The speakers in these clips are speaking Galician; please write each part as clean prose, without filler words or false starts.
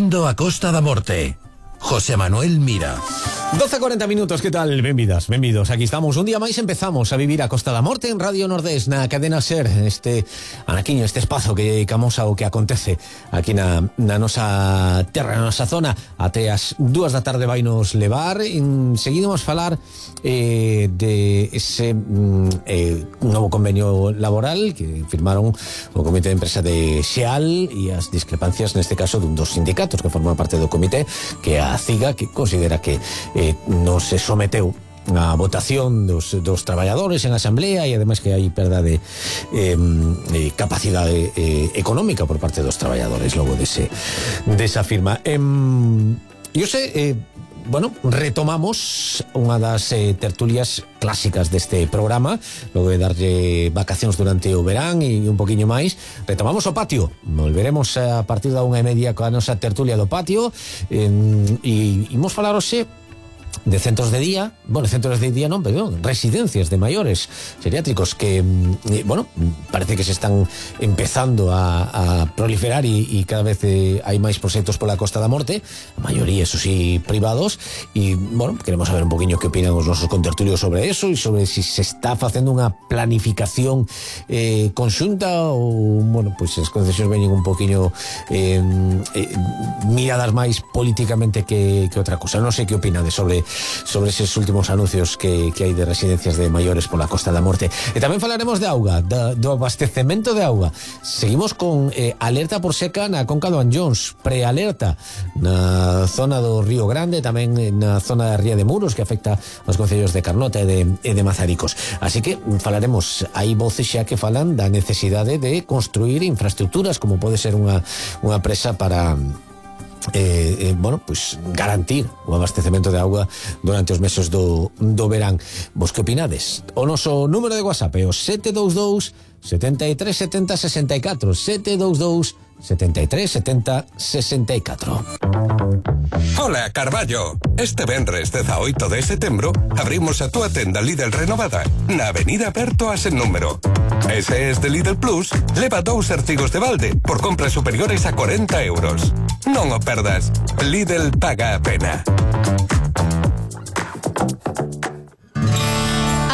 Vindo a Costa da Morte. José Manuel Mira. 12:40 minutos, que tal? Benvidas, benvidos. Aquí estamos, un día máis empezamos a vivir a Costa da Morte en Radio Nordés, na cadena SER, este anaquiño, este espazo que dedicamos ao que acontece aquí na nosa terra, na nosa zona. Até as 2 da tarde vai nos levar. Seguimos falar de ese novo convenio laboral que firmaron o Comité de Empresa de Xeal e as discrepancias neste caso dun dos sindicatos que forman parte do comité, que é a CIGA, que considera que non se someteu a votación dos traballadores en asamblea e ademais que hai perda de capacidade económica por parte dos traballadores logo desa firma. Eu sei, retomamos unha das tertulias clásicas deste programa, logo de darlle vacacións durante o verán e un poquinho máis. Retomamos o patio, volveremos a partir da 1:30 coa nosa tertulia do patio e imos falar hoxe de centros de día, residencias de maiores geriátricos que, parece que se están empezando a proliferar e cada vez hai máis proxectos pola Costa da Morte, a maioría, eso sí, privados, e, queremos saber un poquinho que opinan os nosos contertulios sobre eso e sobre si se está facendo unha planificación conxunta ou, as concesións veñen un poquinho miradas máis políticamente que outra cosa. Non sei que opinades sobre eses últimos anuncios que hai de residencias de maiores pola Costa da Morte. E tamén falaremos de auga, do abastecemento de auga. Seguimos con alerta por seca na conca do Anllóns, prealerta na zona do Río Grande, tamén na zona da Ría de Muros, que afecta aos concellos de Carnota e de Mazaricos. Así que falaremos, hai voces xa que falan da necesidade de construir infraestructuras, como pode ser unha presa para garantir o abastecemento de auga durante os meses do verán. Vos que opinades? O noso número de WhatsApp é o 722 73 70 64, 722 73 70 64. Hola, Carballo. Este venres 18 de setembro abrimos a túa tenda Lidl renovada na Avenida Berto a sen número. Ese es de Lidl Plus, leva 2 artigos de balde por compras superiores a 40 euros. Non o perdas. Lidl paga a pena.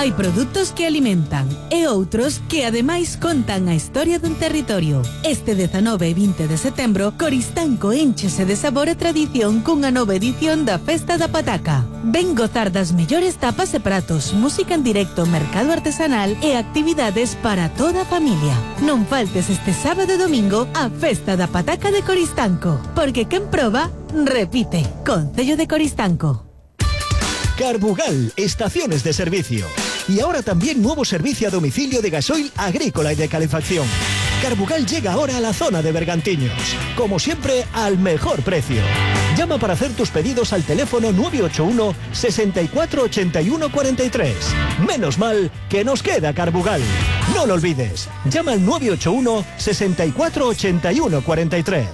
Hai produtos que alimentan e outros que ademais contan a historia dun territorio. Este 19 e 20 de setembro, Coristanco énchese de sabor e tradición cunha nova edición da Festa da Pataca. Ven gozar das mellores tapas e pratos, música en directo, mercado artesanal e actividades para toda a familia. Non faltes este sábado e domingo a Festa da Pataca de Coristanco, porque quen proba, repite. Concello de Coristanco. Carbugal, estaciones de servicio. Y ahora también nuevo servicio a domicilio de gasoil agrícola y de calefacción. Carbugal llega ahora a la zona de Bergantiños. Como siempre, al mejor precio. Llama para hacer tus pedidos al teléfono 981 64 81 43. Menos mal que nos queda Carbugal. No lo olvides. Llama al 981 64 81 43.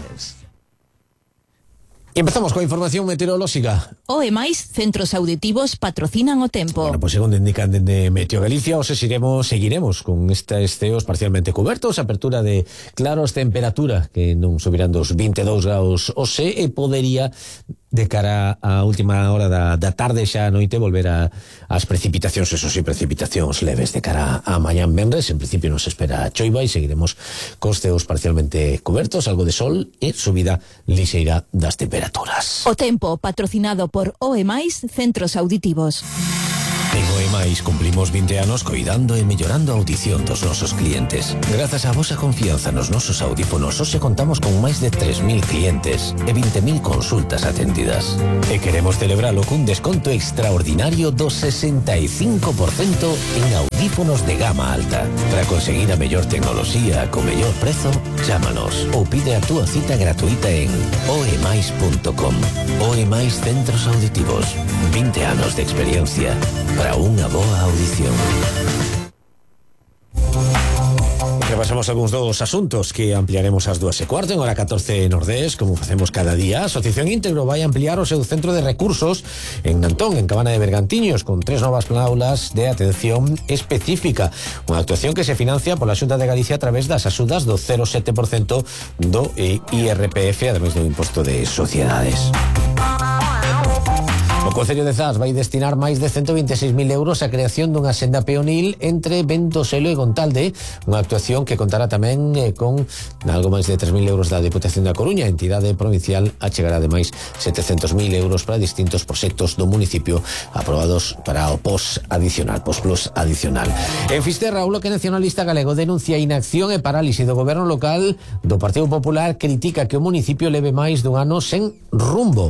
E empezamos coa información meteorolóxica. O e máis centros auditivos patrocinan o tempo. Bueno, segundo indican dende Meteo Galicia, seguiremos con estes ceos parcialmente cubertos, apertura de claros, temperatura que non subirán dos 22 graus hoxe e podería de cara á última hora da tarde xa a noite volver as precipitacións, eso sí, precipitacións leves de cara a mañán venres. En principio nos espera choiva e seguiremos cos ceos parcialmente cubertos, algo de sol e subida lixeira das temperaturas. O tempo patrocinado por OE+, centros auditivos. En OE+, cumplimos 20 anos coidando e mellorando a audición dos nosos clientes. Grazas á vosa confianza nos nosos audífonos, hoxe contamos con máis de 3.000 clientes e 20.000 consultas atendidas. E queremos celebralo cun desconto extraordinario do 65% en audífonos de gama alta. Para conseguir a mellor tecnoloxía co mellor prezo, chámanos ou pide a túa cita gratuita en oemais.com. OE+, centros auditivos. 20 anos de experiencia para unha boa audición. Repasamos algúns dos asuntos que ampliaremos ás 2:15 en hora 14 Nordés, como facemos cada día. A Asociación Íntegro vai ampliar o seu centro de recursos en Nantón, en Cabana de Bergantiños, con 3 novas aulas de atención específica. Unha actuación que se financia pola Xunta de Galicia a través das axudas do 0,7% do IRPF, ademais do imposto de sociedades. O Concello de Zas vai destinar máis de 126.000 euros á creación dunha senda peonil entre Ventoselo e Gontalde, unha actuación que contará tamén con algo máis de 3.000 euros da Deputación da Coruña. A entidade provincial achegará ademais 700.000 euros para distintos proxectos do municipio aprobados para o POS Plus adicional. En Fisterra, o Bloque Nacionalista Galego denuncia inacción e parálise do goberno local do Partido Popular, critica que o municipio leve máis dun ano sen rumbo.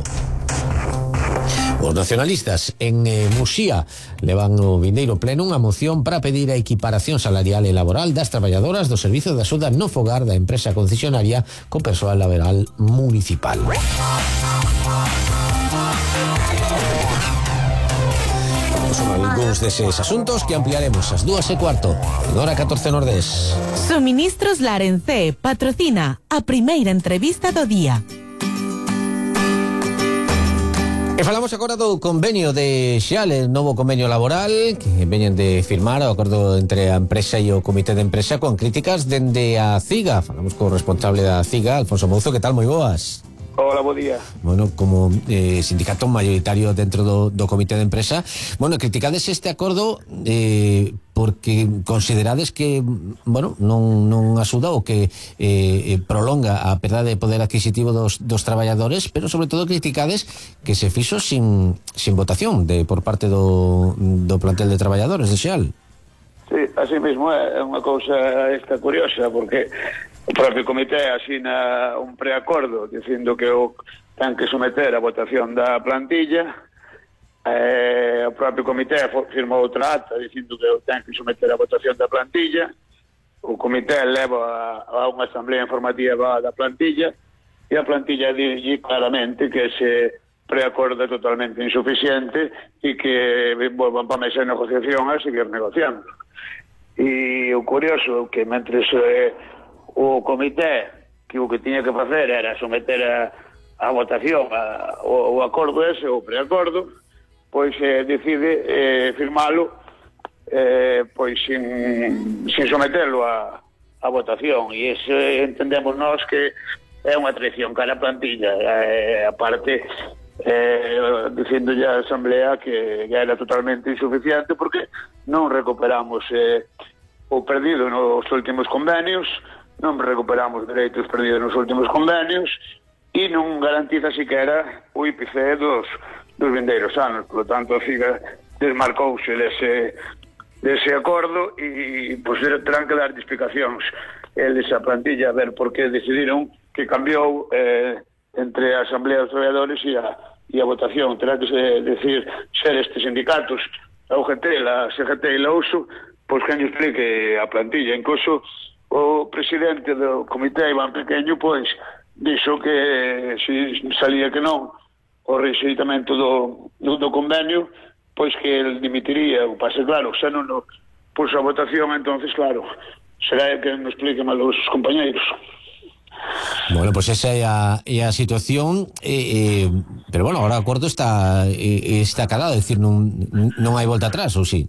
Os nacionalistas en Muxía levan no vindeiro pleno unha moción para pedir a equiparación salarial e laboral das traballadoras do Servizo de Axuda no Fogar da empresa concesionaria co persoal laboral municipal. Son algúns deses asuntos que ampliaremos ás 2:15 en hora 14 Nordés. Suministros Larencé patrocina a primeira entrevista do día. E falamos agora do convenio de Xeal, el novo convenio laboral que veñen de firmar o acordo entre a empresa e o comité de empresa con críticas dende a CIGA. Falamos co responsable da CIGA, Alfonso Mouzo. Que tal? Moi boas. Hola, bo día. Bueno, como sindicato mayoritario dentro do comité de empresa, bueno, criticades este acordo porque considerades que, bueno, non axuda ou que prolonga a perda de poder adquisitivo dos traballadores, pero sobre todo criticades que se fixo sin votación por parte do plantel de traballadores de Xeal. Sí, así mesmo é unha cousa esta curiosa, porque o propio comité asina un preacordo dicindo que o ten que someter a votación da plantilla. O propio comité firmou outra acta dicindo que o ten que someter a votación da plantilla. O comité leva a unha asamblea informativa da plantilla e a plantilla di claramente que ese preacordo é totalmente insuficiente e que volvan para a mesa de negociación a seguir negociando. E o curioso que mentre o comité que o que tiña que facer era someter a votación o acordo ese, o preacordo, pois decide firmalo pois sin sometelo a votación, e iso entendemos nós que é unha traición cara a plantilla, aparte dicindo a asamblea que era totalmente insuficiente porque non recuperamos o perdido nos últimos convenios, non recuperamos dereitos perdidos nos últimos convenios e non garantiza siquera o IPC dos vindeiros anos. Por lo tanto, a FIGA desmarcouse dese acordo e pois terán que dar explicacións eles a plantilla a ver por que decidiron que cambiou entre a Asamblea dos Traballadores e a votación. Terá que ser estes sindicatos, a UGT, a CGT e a USO, pois que nos explique a plantilla. Incluso o presidente do comité, Iván Pequeño, pois dixo que se salía que non o rexeitamento do convenio, pois que el dimitiría. O pase, claro, xa non puso a votación, entonces, claro, será que nos explique mal os compañeiros. Bueno, pues esa é a situación, pero bueno, agora o acordo está calado, é dicir, non hai volta atrás, ou si?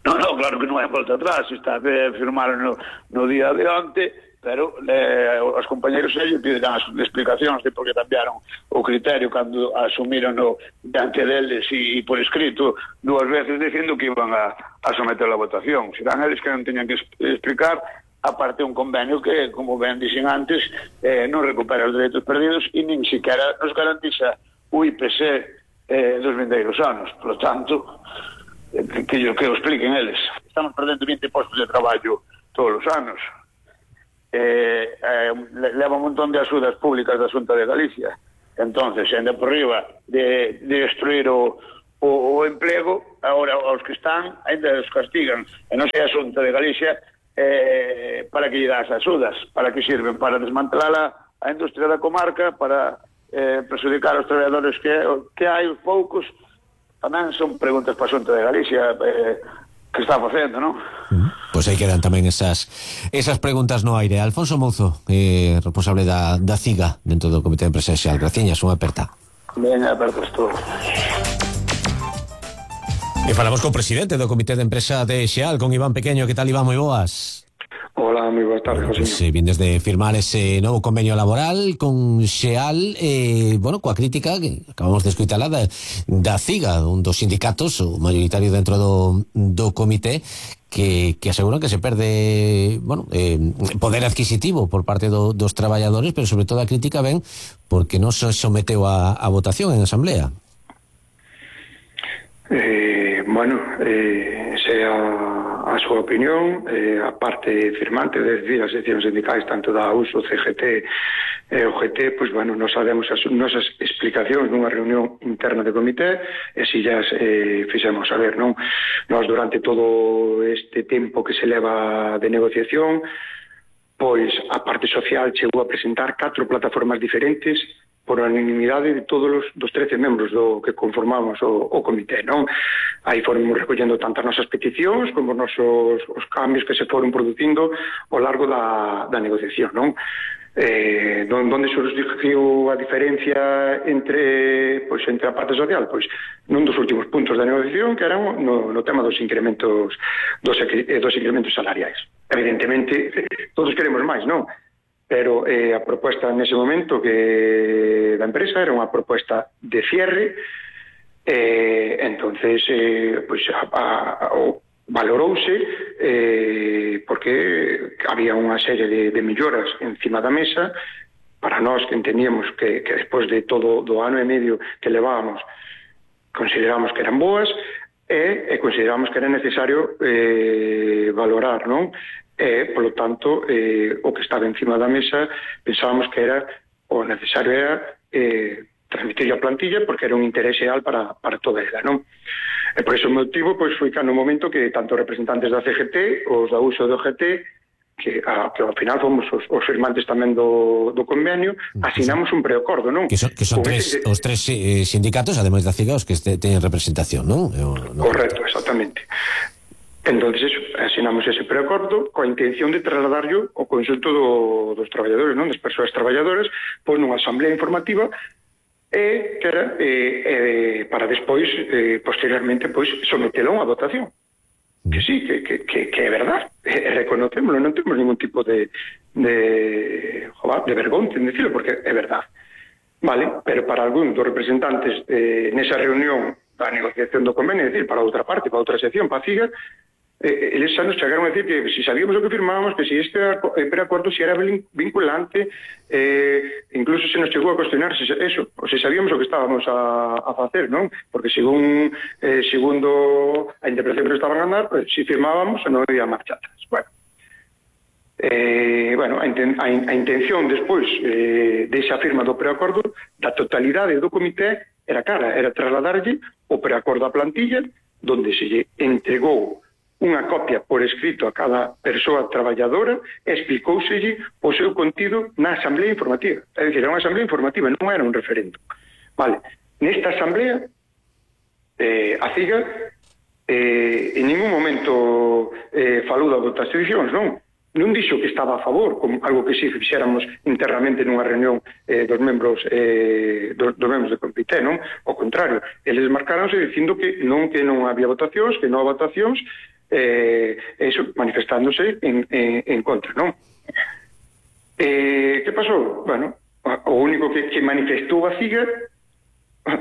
No, claro que non hai volta atrás, está firmaron no día de onte, pero os compañeros ellos piderán as explicacións de por que cambiaron o criterio cando asumiron diante deles e por escrito 2 veces dicindo que iban a someter a votación. Serán eles que non teñan que explicar, aparte un convenio que, como ben dixen antes, non recupera os dereitos perdidos e nin siquiera nos garantiza o IPC dos vindeiros anos. Por lo tanto, que o expliquen eles. Estamos perdendo 20 postos de traballo todos os anos. Leva un montón de axudas públicas da Xunta de Galicia. Entonces, ainda por riba de destruir o emplego, agora os que están ainda os castigan. E non sei a Xunta de Galicia para que lle das axudas, para que sirven, para desmantelar a industria da comarca, para perjudicar aos traballadores que hai, os poucos. Tamén son preguntas para a Xunta de Galicia que está facendo, non? Pois aí quedan tamén esas preguntas no aire. Alfonso Mouzo, responsable da CIGA dentro do Comité de Empresa Xeal. Graciñas, unha aperta. Ben, apertas todo. E falamos co presidente do Comité de Empresa de Xeal, con Iván Pequeño. Que tal, Iván? Moi boas. Hola, moi boas tardes, José. Pues, vindes de firmar ese novo convenio laboral con Xeal, coa crítica que acabamos de escuitala da CIGA, un dos sindicatos, o mayoritario dentro do comité, que aseguran que se perde poder adquisitivo por parte dos traballadores, pero sobre todo a crítica ven porque non se someteu a votación en asamblea. Esa é a súa opinión. A parte firmante, es decir, as seccións sindicais tanto da USO, CGT e OGT, pois, nos sabemos as nosas explicacións nunha reunión interna de comité, e si ya fixemos saber, non? Nós durante todo este tempo que se leva de negociación, pois a parte social chegou a presentar 4 plataformas diferentes por unanimidade de todos dos 13 membros do que conformamos o comité, non? Aí fomos recollendo tantas nosas peticións como os cambios que se foron producindo ao largo da negociación, non? Donde surgiu a diferencia entre a parte social? Pois nun dos últimos puntos da negociación, que eran no tema dos incrementos salariais. Evidentemente, todos queremos máis, non? Pero a proposta nese momento que da empresa era unha proposta de cierre, entonces valorouse porque había unha serie de melloras encima da mesa para nós que entendíamos que despois de todo do ano e medio que levábamos consideramos que eran boas e consideramos que era necesario valorar, non? Polo tanto, o que estaba encima da mesa pensábamos que era o necesario era transmitir a plantilla porque era un interés real para toda ela, non? E por ese motivo, pois foi no momento que tanto representantes da CGT, os da USO do GT, que ao final fomos os firmantes tamén do convenio, asinamos un preacordo, non? Que son os tres sindicatos, ademais da CIGA, os que teñen representación, non? Correcto, exactamente. Entonces asinamos ese preacordo coa intención de trasladarlo ao conxunto dos traballadores, non? Das persoas traballadoras, pois nunha asamblea informativa que era para despois, posteriormente, pois sometelo a votación. Que sí, que é verdad, reconocémoslo, non temos ningún tipo de vergonza en decirlo, porque é verdad. Vale, pero para algún dos representantes nesa reunión da negociación do convenio, é dicir, para outra parte, para outra sección, para a CIGA, eles xa nos chegaron a decir que si sabíamos o que firmábamos, que si este preacordo si era vinculante, incluso se nos chegou a cuestionar se sabíamos o que estábamos a facer, non? Porque segundo a interpretación que estaban a dar, si firmábamos non había marcha atrás. A intención despois desa firma do preacordo da totalidade do comité era trasladarlle o preacordo a plantilla, donde se lle entregou unha copia por escrito a cada persoa traballadora e explicóuselle o seu contido na asamblea informativa. É dicir, era unha asamblea informativa, non era un referendo. Vale, nesta asamblea a CIGA en ningún momento falou da votacións, non dixo que estaba a favor, como algo que si fixéramos internamente nunha reunión dos membros do comité, non? Ao contrario, eles marcaronse dicindo que non había votacións, que non había votacións, eso manifestándose en contra, non? Que pasou? Bueno, o único que manifestou a CIGA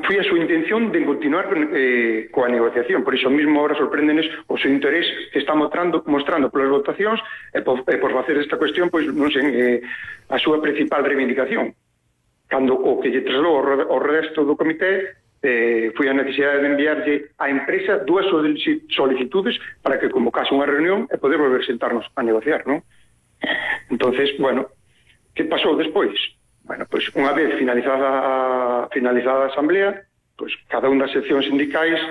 foi a súa intención de continuar coa negociación. Por iso mesmo ahora sorpréndenes o seu interés que está mostrando polas votacións e por facer esta cuestión, pois non sei, a súa principal reivindicación. Cando o que lle trasladou ao resto do comité foi a necesidade de enviarlle á empresa 2 solicitudes para que convocase unha reunión e poder volver a sentarnos a negociar, non? Entonces, bueno, que pasou despois? Bueno, pois unha vez finalizada a asamblea, pois cada unha das seccións sindicais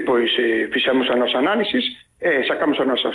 pois fixemos a nosa análisis e sacamos as nosas